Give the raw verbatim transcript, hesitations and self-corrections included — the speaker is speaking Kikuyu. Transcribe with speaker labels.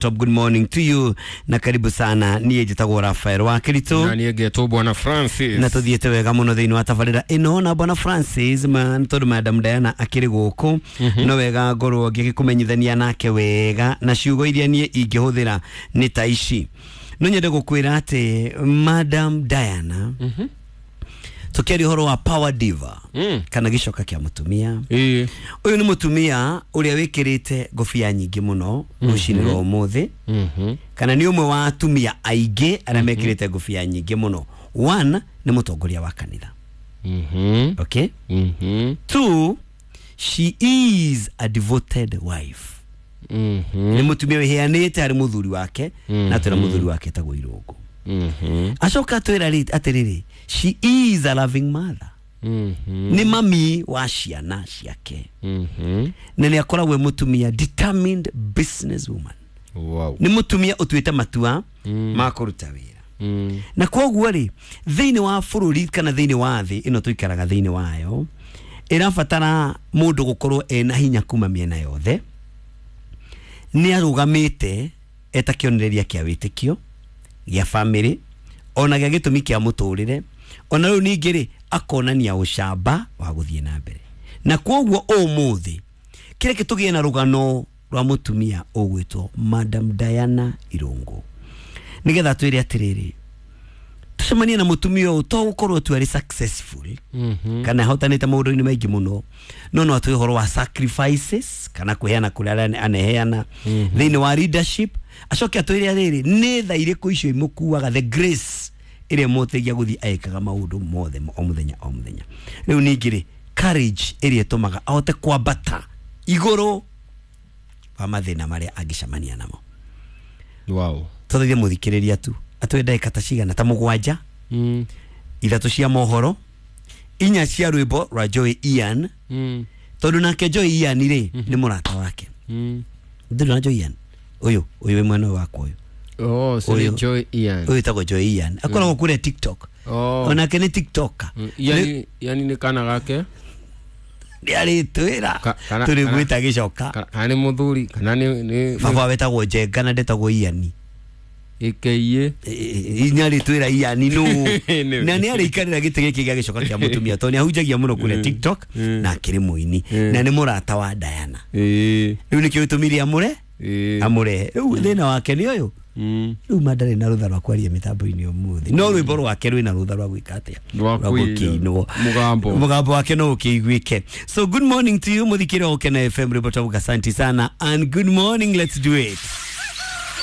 Speaker 1: Top, good morning to you na karibu sana. Niĩ njĩtagwo Rafael wa Kiritu
Speaker 2: na niĩ ngetwo Bwana Francis,
Speaker 1: na tuthiĩte wega mũno thĩinĩ wa tabarĩra ĩno na Bwana Francis man, tondũ Madam Diana akĩrĩ gũkũ mm -hmm. no wega ngorwo ngĩkũmenyithania nake wega na ciugo iria niĩ ingĩhũthĩra nĩ ta ici. No nyende gũkwĩra atĩ Madam Diana mm -hmm. tukiaria ũhoro wa power diva mm. kana gĩcoka kĩa mũtumia. Ũyũ nĩ mũtumia ũrĩa wĩkĩrĩte ngobia nyingĩ mũno rũcinĩ rwa ũmũthĩ, kana nĩ ũmwe wa atumia aingĩ arĩa mekĩrĩte ngobia nyingĩ mũno. One, nĩ mũtongoria wa kanitha. Okay? Two, she is a devoted wife. Nĩ mũtumia wĩheanĩte harĩ mũthuri wake, na twĩra mũthuri wake etagwo Irũngũ. Acoka atwĩra atĩrĩrĩ, she is a loving mother. Mm -hmm. Ni mami wa ciana ciake. Mm -hmm. Na nĩ akoragwo mutumia determined business woman.
Speaker 2: Wow.
Speaker 1: Ni mutumia utuite matua mm. ma kũruta wĩra. Mm. Na koguo rĩ, thĩinĩ wa bũrũri kana thĩinĩ wa thĩ ĩno tũikaraga thĩinĩ wayo, ĩrabatara mũndũ gũkorwo ena hinya kuma mĩena yothe. Nĩ arũgamĩte eta kĩonereria kĩa wĩtĩkio gĩa family, ona gĩa gĩtũmi kĩa mũtũrĩre, ona rĩu ningĩ rĩ akonania ũcamba wa gũthiĩ na mbere. Na koguo ũmũthĩ kĩrĩa gĩtũgĩe na rũgano rwa mũtumia ũgwĩtwo Madam Diana Irũngũ, nĩgetha twĩre atĩrĩrĩ, tũcemanie na mũtumia ũyũ to gũkorwo tu arĩ successful mm -hmm. kana ahotanĩte maũndũ-inĩ maingĩ mũno, no no atwĩ ũhoro wa sacrifices kana kwĩheana kũrĩa aneheana mm -hmm. thĩinĩ wa leadership. Acoke atwĩre atĩrĩrĩ, nĩ tha irĩkũ icio imũkuaga, the grace ĩrĩa ĩmũteithagia gũthiĩ agĩkaga maũndũ mothe o mũthenya o mũthenya. Rĩu ningĩ rĩ, courage ĩrĩa ĩtũmaga ahote kwambata igũrũ wa mathĩna marĩa angĩcemania namo.
Speaker 2: Wow.
Speaker 1: Tũthaithie mũthikĩrĩria tu atwĩ ndagĩka ta cigana ta mũgwanja,
Speaker 2: mm.
Speaker 1: ithatũ cia mohoro, inya cia rwĩmbo rwa Joy Ian,
Speaker 2: mm.
Speaker 1: tondũ nake Joy Ian rĩ mm -hmm. nĩ mũrata wake.
Speaker 2: mm.
Speaker 1: Ndĩrĩ na Joy Ian ũyũ ũyũ wĩ mwena ũyũ wakwa ũyũ.
Speaker 2: Oh, so ni Joy Ian.
Speaker 1: Ũyũ wĩtagwo Joy Ian. Akoragwo kũrĩa TikTok.
Speaker 2: Oh.
Speaker 1: Onake nĩ TikToker.
Speaker 2: Mm. Yani, yani nĩ kana gake?
Speaker 1: Nĩ arĩtwĩra. Tũrĩ gwĩta gĩcoka.
Speaker 2: Kana nĩ mũthuri, kana nĩ nĩ
Speaker 1: baba wetagwo Njenga na ndetagwo Ian.
Speaker 2: Ĩkĩiĩ.
Speaker 1: Inya arĩtwĩra Ian nũ. Na nĩ arĩikarĩra gĩtĩ gĩkĩ gĩa gĩcoka kĩa mũtumia tondũ nĩ ahunjagia mũno kũrĩa TikTok na akĩrĩ mũini na nĩ mũrata wa Diana.
Speaker 2: Ĩĩ.
Speaker 1: Rĩu nĩkĩo gĩtũmire amũre? Amũrehe. Rĩu thĩna wake nĩ ũyũ. Rĩu ma ndarĩ na rũtha rwa kwaria mĩtambo-inĩ ũmũthĩ, no rwĩmbo rwake rwĩna rũtha rwa gwĩka atĩa,
Speaker 2: rwa
Speaker 1: gũkĩinwo.
Speaker 2: Mũgambo
Speaker 1: mũgambo wake no ũkĩiguĩke. So good morning to you mũthikĩrĩria wa Ũkena F M, rwĩmbo twavuga asante sana and good morning, let's do it.